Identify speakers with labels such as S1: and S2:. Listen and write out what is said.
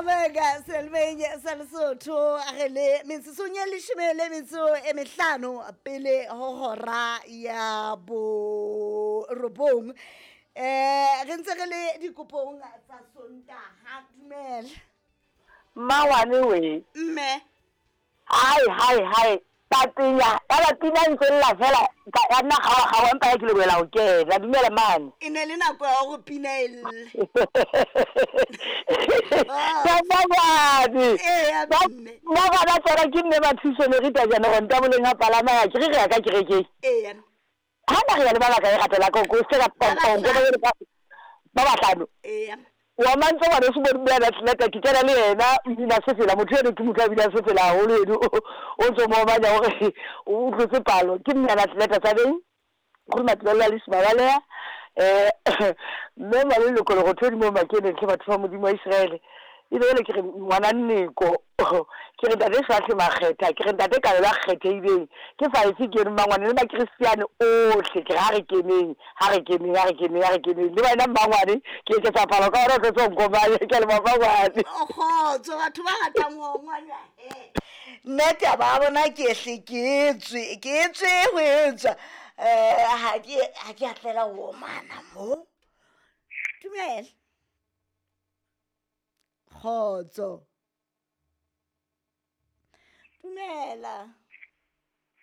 S1: Mabeka selemeng sa Lesotho re le metsotsong e leshome le metso e mehlano pele ho hora ya borobong. Re ntse re le dikopong tsa Sontaha. Dumela.
S2: Mmangwane we.
S1: Mme.
S2: Hai hai hai papenya ya ba pina ntse lla fela ya nna kgaoga kgaoga empa ya ke lebohela go kena. Dumela mane.
S1: E ne le nako ya gore pina e lle.
S2: Mmangwane.
S1: Ee, mme.
S2: Nna gona tsona ke mme Mathuso le Rita jana go ntaboleng ga palama ya ke re re ya ka kerekeng.
S1: Ee.
S2: Ha na re ya le ba bakae gape la ko se ka
S1: Ba bahlano.
S2: Ba bahlano.
S1: Ee.
S2: Wa mantse ngwana se bone mme atleta ke kena le yena mmina sefela motho eno ke motho a binang sefela haholo eno o ntso mo omanya hore o tlotse palo ke mme atleta tsa beng gore matlolo a le Simabalea mme Maleloko le go thodi mo makeneng tlhe batho ba Modimo wa Israele e be ele ke re ngwana Nneko ke re ntate Šwahle Makgetha ke re ntate Kabelo a kgethehileng ke five ke eno mmangwane le makristiane ohle ke re ha re keneng ha re keneng ha re keneng ha re keneng le wena mmangwane ke eketsa palo ka ona o tlotse nkomane ke a leboha mmangwane.
S1: Kgotso batho ba ratang ho ngwana nna taba ya bona ke hle ke tswe ke tswe ho etswa ha ke a tlela ho omana mo. Dumela. Kgotso. Dumela.